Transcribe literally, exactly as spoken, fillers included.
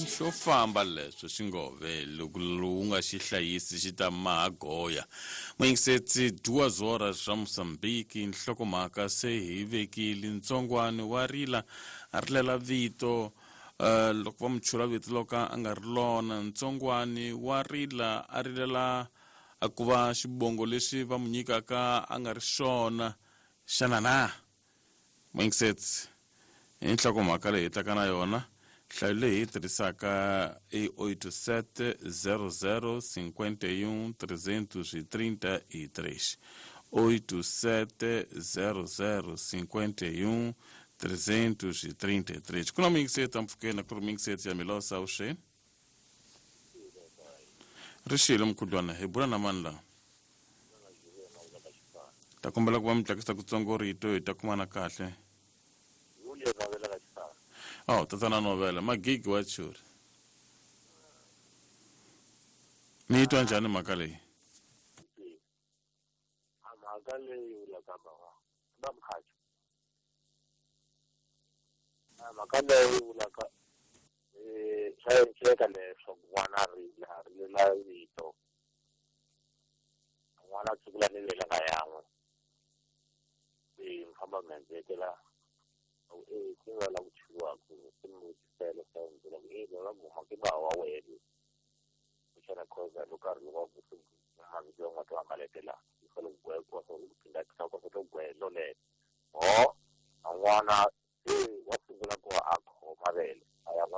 Xo famba leswo xingove loko lowu nga xi hlayisi xi ta maha goya. Muyingisetsi duas horas ra Mozambique nhlokomhaka se hi vekile ntsongwani wa rila a rilela vito uh, loko va mu chula vito loko a nga ri lona ntsongwani wa rila a rilela a ku va xivongo lexi va mu nyikaka a nga ri xona xana na muyingisetsi hi nhlokomhaka leyi hi taka na yona nhlayo leyi hi tirhisaka i oito sete zero zero cinquenta e um trezentos e trinta e três oito sete zero zero cinquenta e um trezentos e trinta e três ku na muyingiseti ampfhukeni ku ri muyingiseti ya milosa avuxeni ri xile mukhuhlwana hi bula na mani laha ta kombela ku va mi tlakisa kutsongo rito hi ta kumana kahle oh tatana novela magigi wa churi mi yi twa njhani mhaka leyi a mhaka leyi vulaka bava va mkhacho a mhaka leyi vulaka eh swa endleka leswaku n'wana a rila a rilela vito n'wana a tsukula ni vele nga yan'we se mi famba mi endlekela e ku nga la ku churiwaku se mi vutisela swa endlela ku e va guma ke ba wa wena kuxana khoza loko a ri wa ku mavito ya n'wana wa malete la yi fanele ku gwekiwa so ku phinda ku to gwelo lelo ho a n'wana se wa sungula ku va a khoma vele a ya